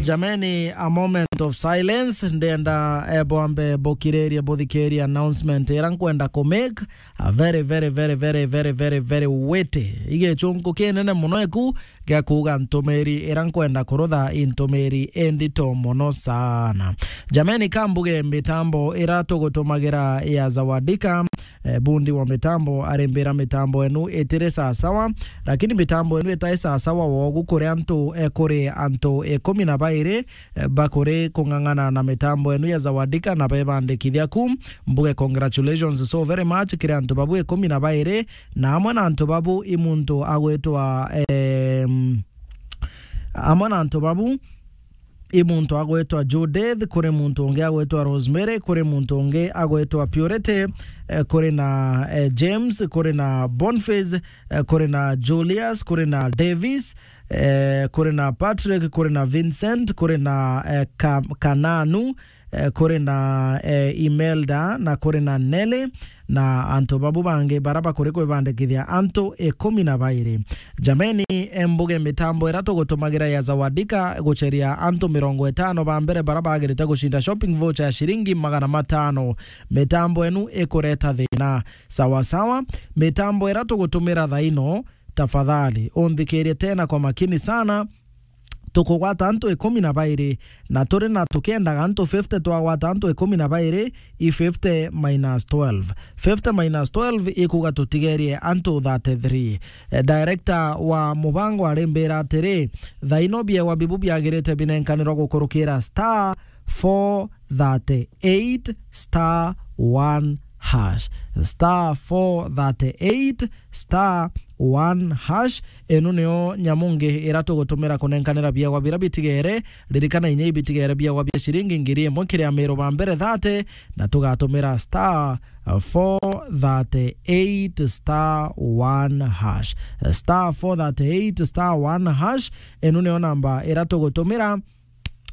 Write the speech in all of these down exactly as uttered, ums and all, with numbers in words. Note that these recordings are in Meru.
Jameni, a moment of silence. Ndenda, eh, bwambe bukiririe, buthikirie announcement ira nkwenda ku make. A very, very, very, very, very, very, very weighty. Igichunku kinene muno eku gia kuuga ntumiri ira nkwenda kurutha i ntumiri indito muno sana. Jameni, kambuge mitambo ira tugutumagira ya Zawadika, eh, bundi wa mitambo arimbira mitambo enu itiri sasawa, lakini mitambo enu itai sasawa wogu kuri antu, eh, kuri antu ikumi na bairi, eh, bakuri kung'ang'ana na mitambo enu ya Zawadika na bebandikithia ku. Mbuge congratulations so very much kiri antu babu ikumi na bairi, na amwe na antu babu i muntu agwitwa, em, amwe na antu babu i muntu agwitwa Judith, kuri muntu ungi agwitwa Rosemary, kuri muntu ungi agwitwa Purity, eh, kuri na, eh, James, kuri na Boniface, eh, kuri na Julius, kuri na Davis, eh, kuri na Patrick, kuri na Vincent, kuri na, eh, Ka-, Kananu, eh, kuri na, eh, Imelda, na kuri na Nelly, na antu babu bangi bara bakuri kwibandikithia antu ikumi na bairi. Jameni, embuge mitambo ira tugutumagira ya Zawadika gucheria antu mirongo itano ba mbere bara bagirite gucinda shopping voucher ya shiringi magana matano. Mitambo enu ikureta thina. Sawa sawa, mitambo ira tugutumira thaino, tafadhali unthikirie tena kwa makini sana. Tukugwata antu ikumi na bairi, na turi na tukiendaga antu fifty, twagwata antu ikumi na bairi, i fifty minus twelve. Fifty minus twelve ikuga tutigerie antu thirty-three. Eh, director wa mubango arimbira atiri, thaino biewa bibu biagirite binenkanirwa gukurukira star four thirty-eight star one hash. Star four thirty-eight star one hash. Ino niyo nyamu ngi ira tugutumira kunenkanira biegwa bira bitigere. Ririkana inya ibitigere biegwa bia shiringi ngiri imwe kiri Amiru ba mbere thirty, na tugatumira star four thirty-eight star one hash. Star four thirty-eight star one hash. Ino niyo namba ira tugutumira.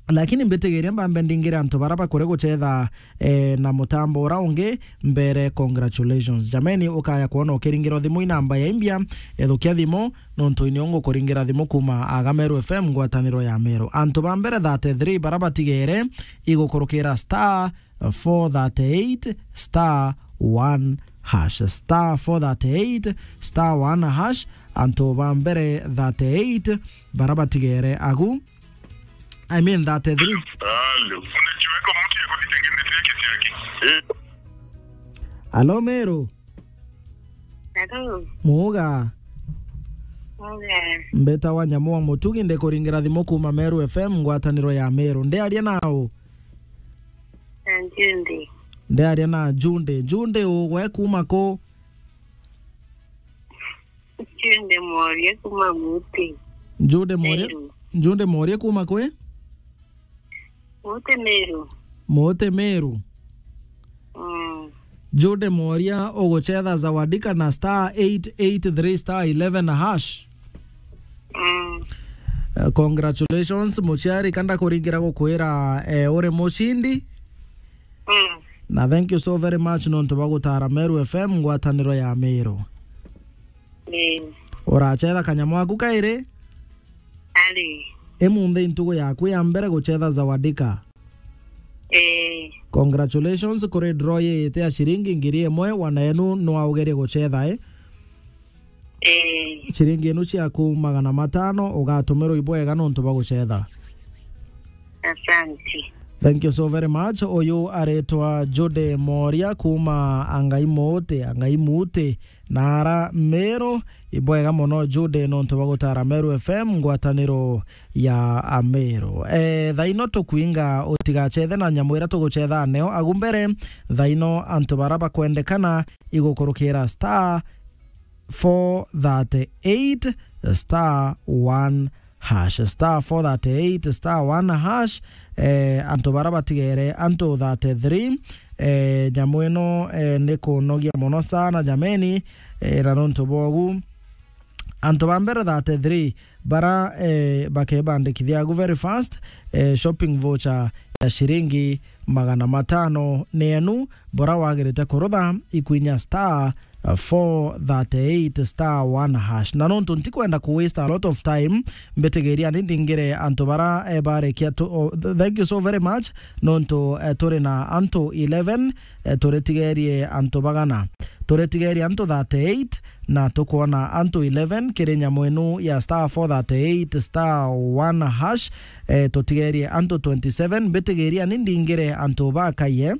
Lakini mbitigiria mbambe ndingire antu bara bakuri guchetha, eh, na mutambo ura ungi mbere. Congratulations. Jameni, ukaya kwona ukiringira thimu i namba ya imbia, ethukia thimu, nontu inio ngukuringira thimu kuma Agameru F M, ngwataniro ya Meru. Antu ba mbere thirty-three bara batigere igukurukira star four thirty-eight star one hash. Star four thirty-eight star one hash. Antu ba mbere thirty-eight bara batigere agu. I mean thirty-three. Halo. Unajua iko mtu ya kupiga ngine zile kitu yake. Eh. Alo, Meru. Hello. Muga. Muga. Mbeta wa Nyamu wa Mutugi, ndikuringira thimu kuma Meru F M, ngwataniro ya Meru. Ndiaria nau? Na Junde. Ndiaria na Junde. Junde, ugwe kuma ku? Junde Moria kuma Muti. Junde Moria, Meru. Junde Moria kuma kwi? Muti Meru. Muti Meru. Mm. Junde Moria uguchetha Zawadika na star eight eight three star eleven hash. Mm. Eh, congratulations, muciari, kanda kuringira gukwira, eh, uri mucindi. Mm. Na thank you so very much nontu bwa gutara Meru F M, ngwataniro ya Meru. Ii. Urachetha kanyamu aku kairi? Ari. Imunthi ntugu yaku ya mbere guchetha Zawadika. Ii. Congratulations kuri draw yiyite ya shiringi ngiri imwe, wana enu nwaugerie guchetha, eh? Ii. Shiringi inu ciaku magana matano ugatumirwa ibwega nontu bwa gucetha. Asante. Thank you so very much. Uyu aretwa Jude Moria kuma Angai Muti, Angai Muti, na ara Meru. Ibwega mono Jude nontu bwa gutara Meru F M, ngwataniro ya Ameru. Eh, thaino tukwinga utigacethe na nyamu ira tugucetha neo agu mbere. Thaino antu bara bakwendekana igukurukira star four thirty-eight star one hash. Star four thirty-eight star one hash. Eh, antu bara batigere, antu thirty-three. Eh, nyamu ino, eh, ni kunogia mono sana, jameni. Eh, na nontu bwogu, antu ba mbere thirty-three bara, eh, bakebandikithia agu very fast, eh, shopping voucher ya shiringi magana matano ni enu, bora wagirite kurutha ikwinya star four thirty-eight star one hash. Na nontu ntikwenda ku waste a lot of time, mbitigiria ni ndingire antu bara, eh, barekia tu, oh, th-, thank you so very much. Nontu, eh, turi na antu eleven, eh, turitigerie antu bagana. Turitigerie antu thirty-eight, na tukwona antu eleven kiri nyamu inu ya star four thirty-eight star one hash. Eh, tutigerie antu twenty-seven, mbitigiria ni ndingire antu bakaie.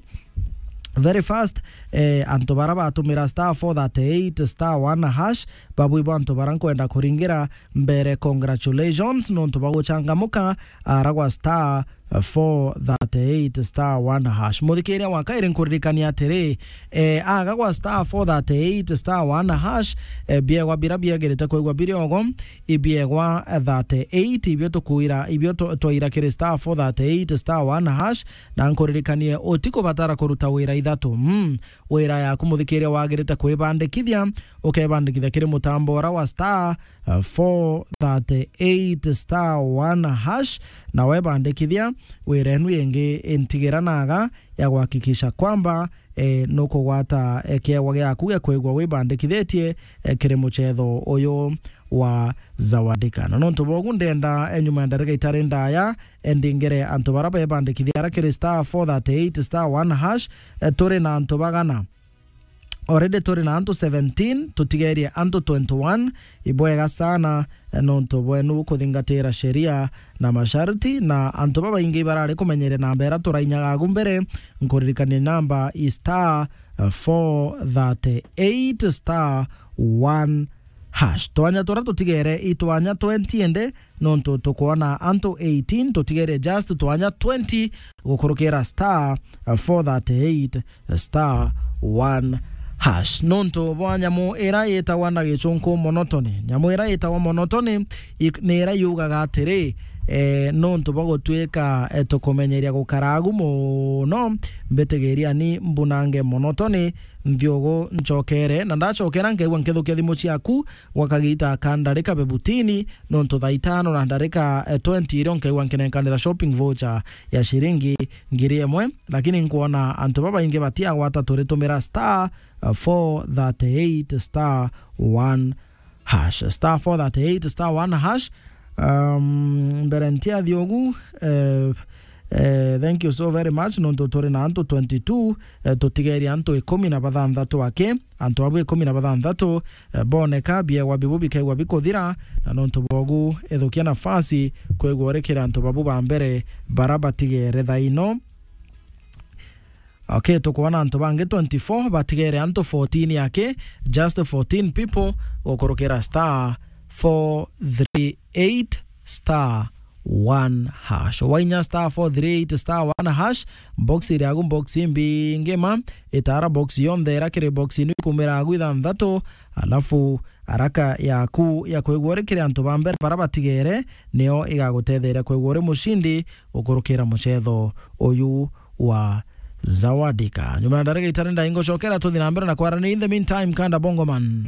Very fast, eh, antu bara batumira star four thirty-eight star one hash, babui bo antu bara nkwenda kuringira mbere, congratulations, nontu bwa guchangamuka, ara gwa star four thirty-eight star one hash. Muthikiria wa kairi, nkuririkania atiri, eh, aga gwa star four thirty-eight star one hash, eh, biegwa bira biagirite kwigwa biri ogo, ibiegwa thirty-eight, ibio tukwira, ibio twa-, twaira kiri star four thirty-eight star one hash, na nkuririkanie utikubatara kuruta wira ithatu. Mm. Wira yaku muthikiria wagirite kwibandikithia, ukebandikithia kiri mutambo ura wa star, uh, four thirty-eight star one hash, na webandikithia, wira enu ingi intigira naga ya kuhakikisha kwamba, eh, nukugwata, eh, kiegwa giaku gia kwigua wibandikithitie, eh, kiri muchetho uyu wa Zawadika. Na nontu bogu ndenda, eh, nyuma ya ndarika itari ndaya, eh, ndingire antu bara bebandikithia ara kiri star four thirty-eight star one hash, eh, turi na antu bagana. Already turi na antu seventeen, tutigerie antu twenty-one. Ibwega sana, eh, nontu bwenu kuthingatira sheria na masharti, na antu babaingi barari kumenyeria namba ira turainyaga agu mbere. Nkuririkania namba i star, eh, four thirty-eight star one hash. Twanya turia tutigere i twanya twenty ende, nontu tukwona antu eighteen, tutigere just twanya twenty gukurukira star four thirty-eight star one hash. Nontu bwa nyamu ira yitagwa na gichunku monotony. Nyamu ira yitagwa monotony i-, ni ira yugaga atiri, eh, nontu bwa gutuika, eh, tukumenyeria gukara agu muno, mbitigiria ni mbunange monotony nthiugu nchokere, na ndachokera nkaigua nkithukia thimu ciaku gwa kagita ka ndarika fifteen, nontu thaa itano na ndarika, eh, twenty irio nkaigua nkinenkanira shopping voucher ya shiringi ngiri imwe, lakini nkwona antu babaingi batiagwata turitumira star, eh, four thirty-eight star one hash. Star four thirty-eight star one hash. Um, mbere ntiathi ugu, eh, eh, thank you so very much, nontu turi na antu twenty-two, eh, tutigeria antu ikumi na bathanthatu aki, antu abu ikumi na bathanthatu, eh, boneka, biegwa bibu bikaigua bikuthira, na nontu bogu, ithukia nafasi kwigua urikira antu babu ba mbere bara batigere thaino. Okay, tukwona antu bangi twenty-four, batigere antu fourteen aki, just fourteen people, gukurukira star four three eight star one hash. Wainya star four three eight star one hash, box iri agu, box imbingi ma, itara box yonthe ira kiri box inu ikumira agu ithanthatu, alafu araka yaku ya kwigua uri kiri antu ba mbere bara batigere, nio igagutetheria kwigua uri mushindi gukurukira muchetho uyu wa Zawadika. Nyuma ya ndarika itari ndai ngucokera tuthi na mbere na kwarania. In the meantime, kanda Bongoman.